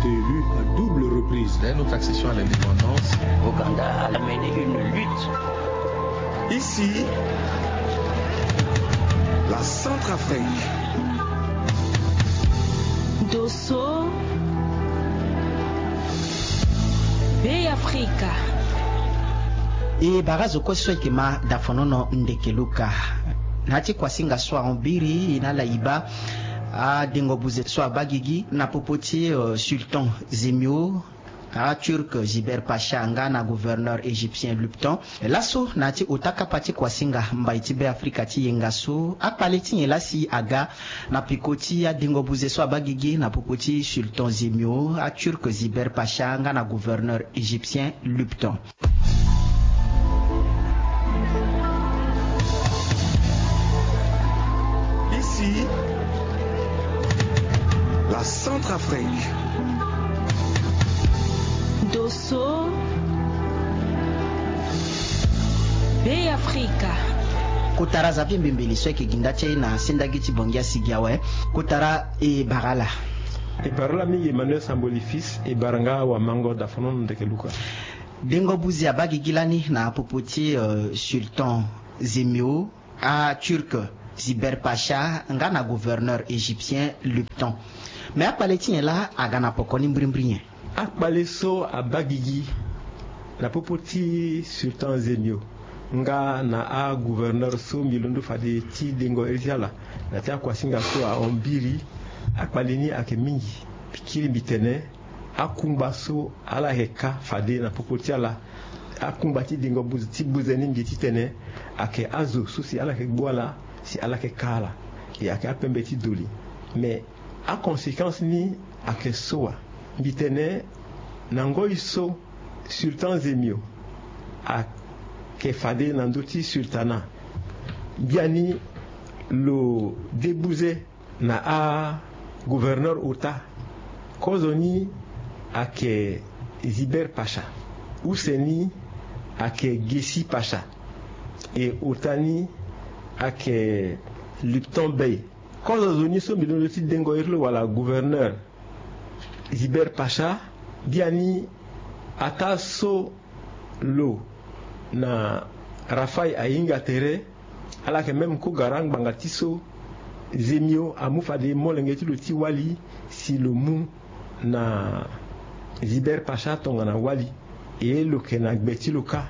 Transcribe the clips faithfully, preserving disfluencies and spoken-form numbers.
Élu à double reprise. Dès notre accession à l'indépendance, Ouganda a mené une lutte. Ici, la Centrafrique. Dosso, Bey Afrika. E bara zo kue so ayeke ma dafonono ndeke luka. Na ya ti kuasinga so ahon biri e na ala e baa adengo buze so abaa gigi na popo ti sultan Zemio, aturc Ziber Pacha nga na gouverneur égyptien Lupton. Laso na ya ti ota kapa ti kuasinga mbai ti Bey Afrika ti yenga so akpale ti nyen laa si aga na peko ti adengo buze so abaa gigi na popo ti sultan Zemio, aturc Ziber Pacha nga na gouverneur égyptien Lupton. Ici, la Centrafrique. Dosso, Bey Afrika. Kotara Xavier Mbembeli so ayeke gi nda ti e na sendagi ti Bangui asigi awe. Kotara, e bara ala. E bara ala mingi Emmanuel Samboli fils, e bara nga wamango dafonono ndeke luka. Dengo buze abaa gigi lani na popo ti sultan Zemio, aturc Ziber Pacha nga na gouverneur égyptien Lupton. Me akpale ti nyen laa aga na poko ni mbirimbiri nyen? Akpale so abaa gigi na popo ti sultan Zemio nga na agouverneur so mbi londo fade ti dengo iri ti ala na ya ti akuasinga so ahon biri. Akpale ni ayeke mingi. Pikiri mbi tene akungba so ala yeke ka fade na popo ti ala, akungba ti dengo buze ti buze ni mbi titene ayeke azo so si ala yeke gbu ala, si ala yeke ka ala. E ayeke apembe ti doli. Me aconséquence ni ayeke so wa? Mbi tene na ngoi so sultan Zemio ayeke fade na ndö ti sultanat, biani lo debuze na agouverneur ota. Kozo ni ayeke Ziber Pacha, use ni ayeke Gessi Pacha, e ota ni ayeke Lupton Bey. Kozo zo ni so mbi londo ti dengo iri lo wala gouverneur Ziber Pacha, biani ataa so lo na Rafai ahinga tere, ala yeke même kogara ngbanga ti so Zemio amu fade molenge ti lo ti wali si lo mu na Ziber Pacha tongana wali. E lo yeke na gbe ti lo kâ.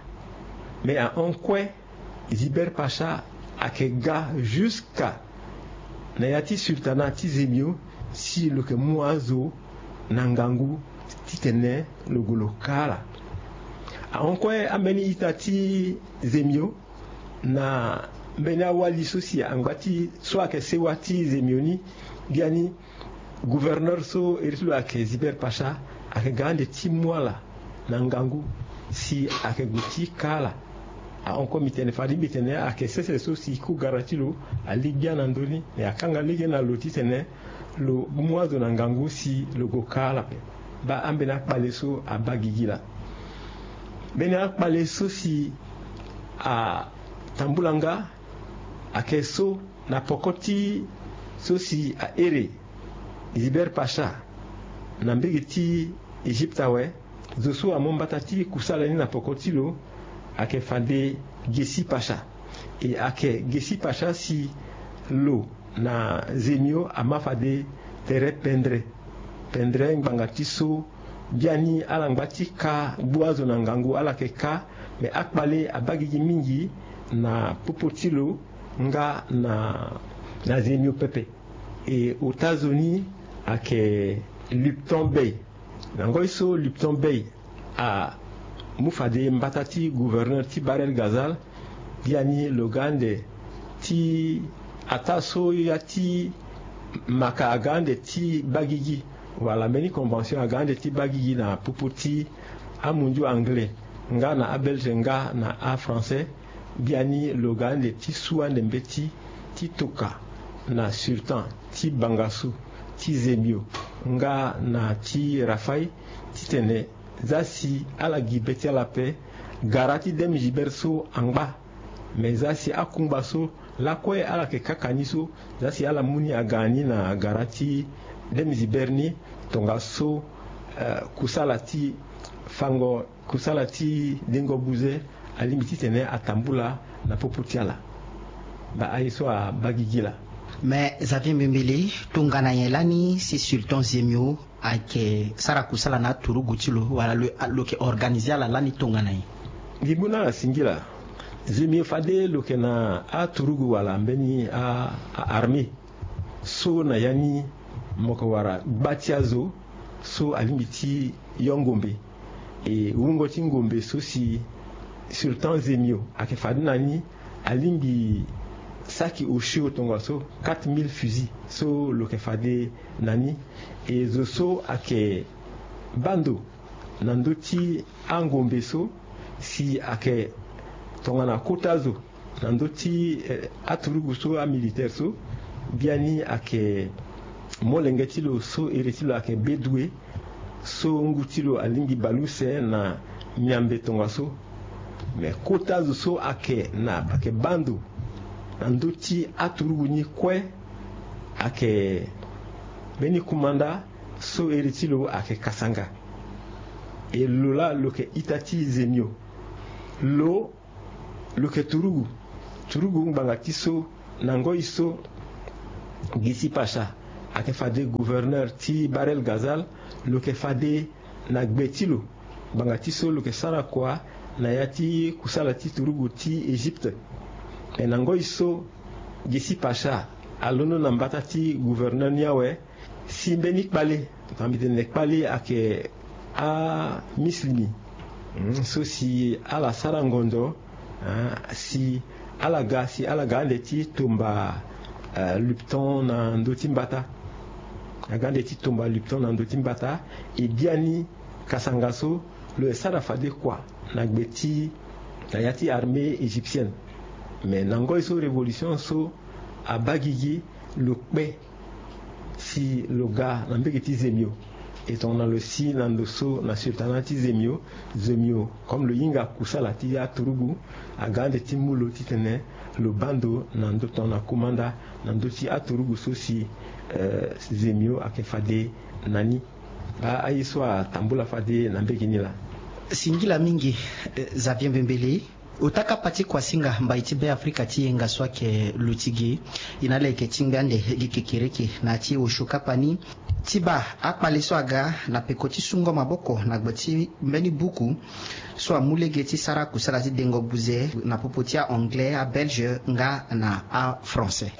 Me ahon kue Ziber Pacha ayeke ga jusqu'à na ya ti sultanat ti Zemio si lo yeke mu azo na ngangu titene lo gue lo ka ala. Ahon kue ambeni ita ti Zemio na mbeni awali so si angba ti so ayeke sewa ti Zemio ni, biani gouverneur so iri ti lo ayeke Ziber Pacha ayeke ga ande ti mu ala na ngangu si ayeke gue ti ka ala. Ahon kue mbi tene fade mbi tene ayeke sese so si kogara ti lo ali gbia na ndö ni, me akanga lege na lo titene lo mu azo na ngangu si lo gue ka ala ape. Baa ambeni akpale so abaa gigi laa. Mbeni akpale so si atambula nga ayeke so na poko ti so si ahere Ziber Pacha na mbege ti Egypte awe. Zo so amu mbata ti kusala ni na poko ti lo ayeke fade Gessi Pacha. E ayeke Gessi Pacha si lo na Zemio ama fade tere pendre. Pendre ngbanga ti so biani ala ngba ti ka gbu azo na ngangu ala yeke ka. Me akpale abaa gigi mingi na popo ti lo nga na, na Zemio pepe. E ota zo ni ayeke Lupton Bey. Na ngoi so Lupton Bey amu fade mbata ti gouverneur ti Bahr el Ghazal, biani lo ga ande ti ataa so ya ti maka aga ande ti baa gigi, wala mbeni convention aga ande ti baa gigi na popo ti amunzu anglais nga na abelge nga na afrançais. Biani lo ga ande ti su ande mbeti ti toka na sultan ti bangasu ti Zemio nga na ti Rafai titene za si ala gi be ti ala ape. Gara ti Deme Ziber so angba. Me za si akungba so lakue ala yeke kaka ni so, za si ala mu ni aga ni na gara ti Deme Ziber ni, tongaso Kusala ti fango, kusala ti dengo buze alingbi titene atambula na popo ti ala. Baa aye so abaa gigi laa. Me Xavier Mbembele, tongana nyen lani si Sultan Zemio ayeke sara kusala na aturugu ti lo wala lo yeke organize ala lani tongana nyen? Nginbu na ala singila. Zemio fade lo yeke na aturugu wala mbeni a armée so na ya ni mo yeke wara gba ti azo so alingbi ti yo ngombe. E wungo ti ngombe so si Sultan Zemio ayeke fade na ni, alingbi saki osio tongaso quatre mille fusils so lo yeke fade na ni. E zo so ayeke baa ndo na ndö ti angombe so si ayeke tongana kota zo na ndö ti aturugu so amilitaire so, biani ayeke molenge ti lo so ere ti lo ayeke Bédoué so ngu ti lo alingbi bale use na miambe tongaso. Me kota zo so ayeke na ayeke baa ndo na ndö ti aturugu ni kue ayeke mbeni kumanda so ere ti lo ayeke Kasanga. E lo laa lo yeke ita ti Zemio. Lo lo yeke turugu. Turugu ngbanga ti so na ngoi so Gisi Pacha ayeke fade gouverneur ti Bahr el Ghazal, lo yeke fade na gbe ti lo ngbanga ti so lo yeke sara kua na ya ti kusala ti turugu ti Égypte. Me na ngoi so Gisi Pacha alondo na mbata ti gouverneur ni awe, si mbeni kpale, na mbi tene kpale ayeke amisilimi so si ala sara ngondo si ala ga si ala ga ande ti tomba lupton na ndö ti mbata. Aga ande ti tomba lupton na ndö ti mbata. E biani Kasanga so lo ye sara fade kua na gbe ti na ya ti armée égyptienne. Me na ngoi so révolution so abaa gigi, lo kpe si lo ga na mbege ti Zemio. E tongana lo si na ndo so na sultanat ti Zemio, Zemio comme lo hinga kusala ti aturugu, aga ande ti mu lo titene lo baa ndo na ndo tongana kumanda na ndö ti aturugu so si Zemio ayeke fade na ni. Baa aye so atambula fade na mbege ni laa. Singila mingi. Xavier Mbembele. Ota kapa ti kuasinga mbai ti Beafrika ti yenga so ayeke luti gi. E na ala yeke tingbi ande gi kekereke na ya ti osio kapa ni ti baa akpale so aga na peko ti sungo maboko na gbe ti mbeni buku so amu lege ti sara kusala ti dengo buze na popo ti a-anglais, abelge nga na afrançais.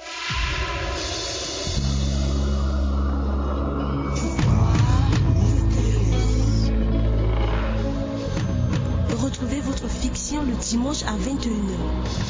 Retrouvez votre fiction le dimanche à vingt et une heures.